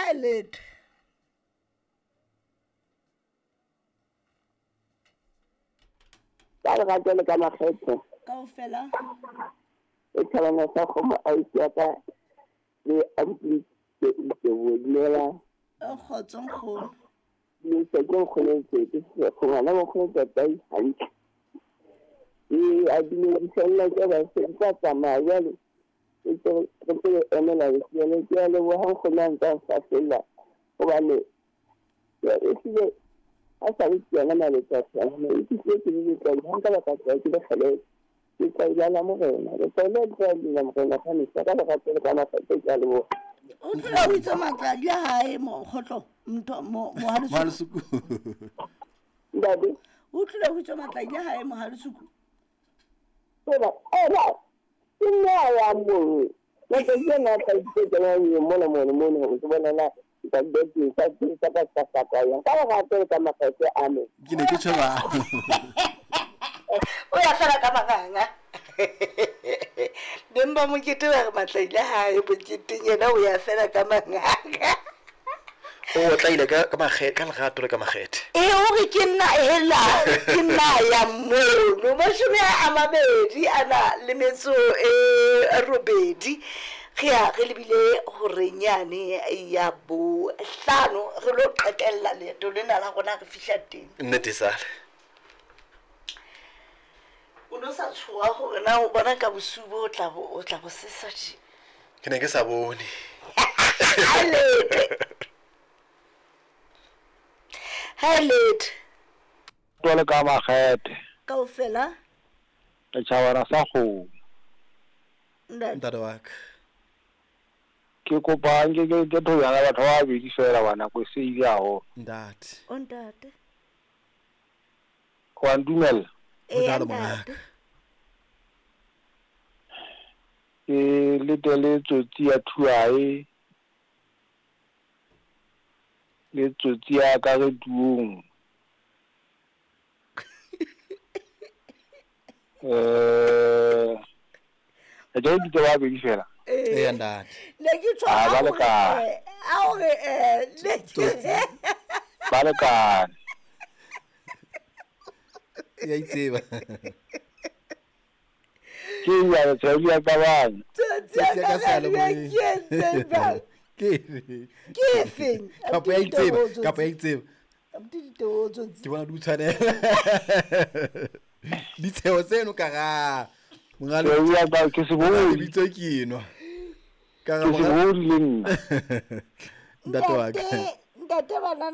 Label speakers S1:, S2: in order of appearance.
S1: Ha letho.
S2: Ka lerato le ka makgethe.
S1: Kaofela.
S2: E thabana sa kgomo ausi ya ka le abuti Teboho, dumelang.
S1: Kgotso nkgono.
S2: Dumedisa ke nkgono Tsetse, ngwana nkgono Tatai hantle. Ee, a dumedisa nna ke ba se tsa tsamaya jwale. Ke tse re tse emela lesione ke a leboha nkgono a ntse a nfahlella hobane ehlile ha sa le ke yona maletsatsi a e fihlile ke le letlwaedi ha nka ba ka tloha ke le kgeleke. Ke tla la morena, le tla la morena ka mehla ka lerato le ka makgethe ke a leboha.
S1: O tlile o itse matladi a hae mokgotlo ntho mohalesuku.
S2: Ntate.
S1: O tlile o itse matladi a hae mohalesuku.
S2: Eba, eba, ke nna ya moo. Matsatsi ana a tlaisitse tsena mona mona mona hore ke bona na ka ka ka ka ka ka ka yang ka lerato le ka makgethe, amen.
S3: Ke ne ke tjho jwalo.
S1: O ya fela ka manganga. Beng ba mokete ba re matlaile hae moketeng, yena o ya fela ka manganga.
S4: O tlaile ka ka makgethe, ka lerato le ka makgethe.
S1: E o re ke nna hela, ke nna ya mono. 20 a na le metso e robedi. Re ya re lebile horenyane ya bohlano, re lo qetella leeto lena la rona re fihla teng.
S4: Nnete sale.
S1: O no sa tshoha hore na o bona ka bosiu bo o tla bo o tla bo sesa tje.
S4: Ke ne ke sa bone.
S1: Ha letho. Ha letho.
S5: Jwale ka makgethe.
S1: Kaofela.
S5: Setjhabana sa kgomo.
S1: Ntate.
S3: Ntate wa ka.
S5: Ke kopa nke ke ke thojana batho ba babedi fela ba nako e se ile haholo.
S3: Ntate.
S1: O ntate.
S5: Wa ntumella?
S3: Ho jwalo mongaka.
S5: Ke letele tsotsi ya thuae le tsotsi ya ka re tuong. Eh, ke ditse ba babedi fela.
S3: Eya ntate.
S1: Ne ke tswa
S5: Ah, ba
S1: a hore
S5: lekane.
S1: a hore ne ke
S5: Ba lekane.
S3: Ya itseba.
S5: Ke ya tshwedi ya kabane.
S1: Tsotsi ya
S3: Tsotsi ya
S1: ka
S3: ka seyalemoyeng.
S1: ke entseng jwang?
S3: Ke efe?
S1: Ke efeng?
S3: Kapa ya itseba, kapa ya itseba.
S1: Abuti diteboho tsotsi.
S3: Ke bona di o tshwanela. Ditsheho tseno ka ra. Monga le
S5: Tshwedi ya ka ke sebodi.
S3: lebitso ke enwa. Ka
S5: Ke
S3: ra monga
S5: sebodi le nna.
S3: ntate wa ka.
S1: Ntate, ntate banana